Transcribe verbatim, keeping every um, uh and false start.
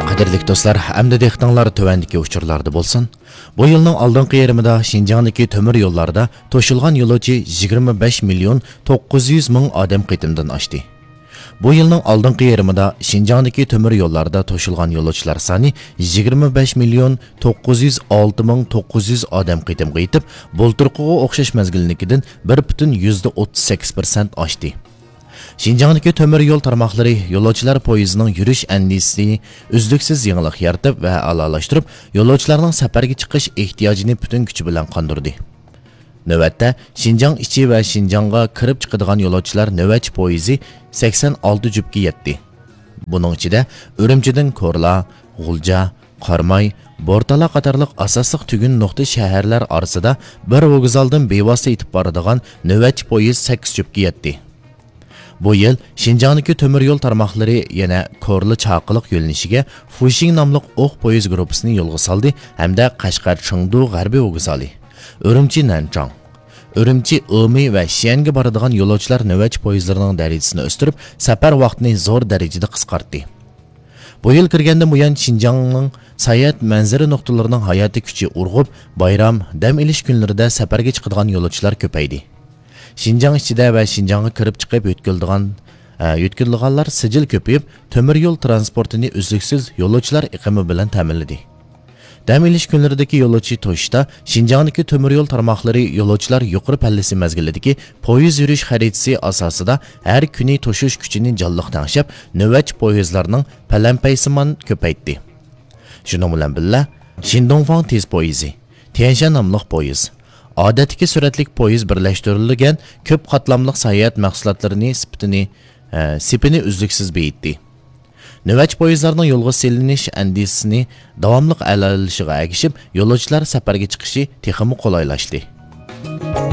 قەدىرلىك دوستلار، ئەمدى دىققىتىڭلار تۆۋەندىكى ئۇچۇرلاردا بولسۇن. بۇ يىلنىڭ ئالدىنقى يېرىمىدا شىنجاڭدىكى تۆمۈر يوللاردا توشۇلغان يولۇچى يىگىرمە بەش مىليون توققۇز يۈز مىڭ ئادەم قېتىمدىن ئاشتى. بۇ يىلنىڭ ئالدىنقى يېرىمىدا شىنجاڭدىكى تۆمۈر يوللاردا توشۇلغان يولۇچىلار سانى يىگىرمە بەش مىليون توققۇز يۈز ئالتە مىڭ توققۇز يۈز ئادەم قېتىمغا يېتىپ، بۇلتۇرقىغا ئوخشاش مەزگىلنىڭكىدىن بىر پۈتۈن يۈزدە ئوتتۇز سەككىز پىرسەنت ئاشتى. شىنجاڭدىكى تۆمۈر يول تارماقلىرى يولۇچىلار پويىزىنىڭ يۈرۈش ئەندىزىسىنى ئۈزلۈكسىز يېڭىلىق يارىتىپ ۋە ئەلالاشتۇرۇپ، يولۇچىلارنىڭ سەپەرگە چىقىش ئېھتىياجىنى پۈتۈن كۈچى بىلەن قاندۇردى. نۆۋەتتە، شىنجاڭ ئىچى ۋە شىنجاڭغا كىرىپ چىقىدىغان يولۇچىلار نۆۋەتچى پويىزى سەكسەن ئالتە جۈپكە يەتتى. بۇنىڭ ئىچىدە ئۈرۈمچىدىن كورلا، غۇلجا، قاراماي، بورتالا قاتارلىق ئاساسلىق تۈگۈن نۇقتا شەھەرلەر ئارىسىدا بىر ۋوگزالدىن بىۋاسىتە يېتىپ بارىدىغان نۆۋەتچى پويىز سەككىز جۈپكە يەتتى. بۇ يىل شىنجاڭدىكى تۆمۈر يول تارماقلىرى يەنە كورلا چاقىلىق يۆنىلىشىگە فۇشىڭ ناملىق ئوق پويىز گۇرۇپپىسىنى يولغا سالدى ھەمدە قەشقەر چېڭدۇ غەربىي ۋوگزالى، ئۈرۈمچى نەنچاڭ، ئۈرۈمچى ئېمى ۋە شيەنگە بارىدىغان يولۇچىلار نۆۋەتچى پويىزلىرىنىڭ دەرىجىسىنى ئۆستۈرۈپ، سەپەر ۋاقتىنى زور دەرىجىدە قىسقارتتى. بۇ يىل كىرگەندىن بۇيان، شىنجاڭنىڭ ساياھەت مەنزىرە نۇقتىلىرىنىڭ ھاياتىي كۈچى ئۇرغۇپ، بايرام، دەم ئېلىش كۈنلىرىدە سەپەرگە چىقىدىغان يولۇچىلار كۆپەيدى. شىنجاڭ ئىچىدە ۋە شىنجاڭغا كىرىپ چىقىپ يۆتكىلىدىغان، ئە، يۆتكىلىدىغانلار سىجىل كۆپىيىپ، تۆمۈر يول ترانسپورتىنى ئۈزلۈكسىز يولۇچىلار ئېقىمى بىلەن تەمىنلىدى. دەم ئېلىش كۈنلىرىدىكى يولۇچى توشۇشتا شىنجاڭدىكى تۆمۈر يول تارماقلىرى يولۇچىلار يۇقىرى پەللىسى مەزگىلىدىكى پويىز يۈرۈش خەرىتىسى ئاساسىدا ھەر كۈنى توشۇش كۈچىنى جانلىق تەڭشەپ، نۆۋەتچى پويىزلارنىڭ پەلەمپەيسىمان كۆپەيتتى. شۇنىڭ بىلەن بىللە، شىندۇڭفاڭ تېز پويىزى، تيەنشەن ناملىق پويىز، ئادەتتىكى سۈرئەتلىك پويىز بىرلەشتۈرۈلگەن كۆپ قاتلاملىق ساياھەت مەھسۇلاتلىرىنى سېپىتىنى، ئە، سېپىنى ئۈزلۈكسىز بېيىتتى. نۆۋەتچى پويىزلارنىڭ يولغا سېلىنىش ئەندىزىسىنى داۋاملىق ئەلالىشىغا ئەگىشىپ، يولۇچىلار سەپەرگە چىقىشى تېخىمۇ قولايلاشتى.